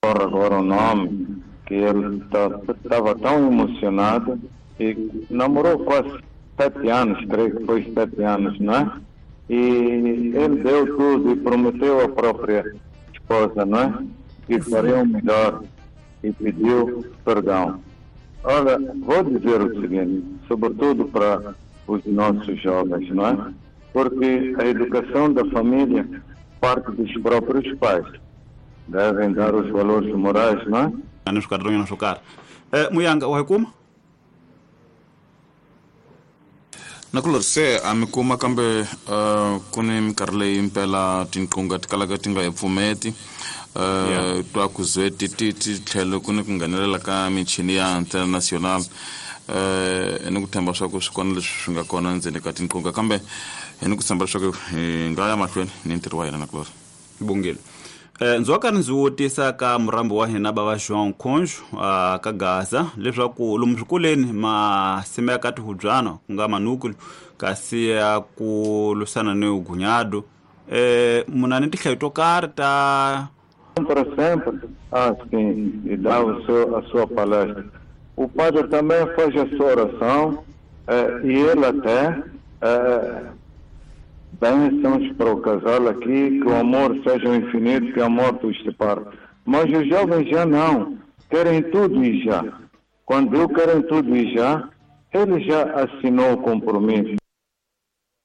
ocorre agora o nome, que ele estava tão emocionado e namorou quase 7 anos, creio que foi 7 anos, não é? E ele deu tudo e prometeu à própria esposa, não é? Que faria o melhor e pediu perdão. Olha, vou dizer o seguinte, sobretudo para os nossos jovens, não é? Porque a educação da família parte dos próprios pais. Devem dar os valores morais, não é? Ni swikarhatonyana swo karhi. Muyanga, wa hi kuma? Nakulori, se a mi kuma, kambe ku ni minkarhi leyi impela tinqunga ti kalaka ti nga hi pfumeti. Twa ku ze ti tlhelo ku ni ku nghenelela ka michini ya international. Ni ku tshemba swa ku swi kona leswi swi nga kona ndzeni ka tinqunga, kambe hi ni ku tshemba leswaku hi nga ya mahlweni ni ntirho wa hina, Nakulori. Bungile. Ndzi wa karhi ndzi vutisa ka murambi wa hina bava João Conjo ka Gaza leswaku lomu swikolweni ma simeka tihubyana, ku nga manúcleo, kasi ya ku lwisana ni ugunyado, muna ni tinhlayo to karhi ta Para sempre, ah, sim, e dá a sua palestra. O padre também faz a sua oração e ele até bênçãos para o casal aqui, que o amor seja infinito, que a morte os separe. Mas os jovens já não, querem tudo e já. Quando eu querem tudo e já, ele já assinou o compromisso.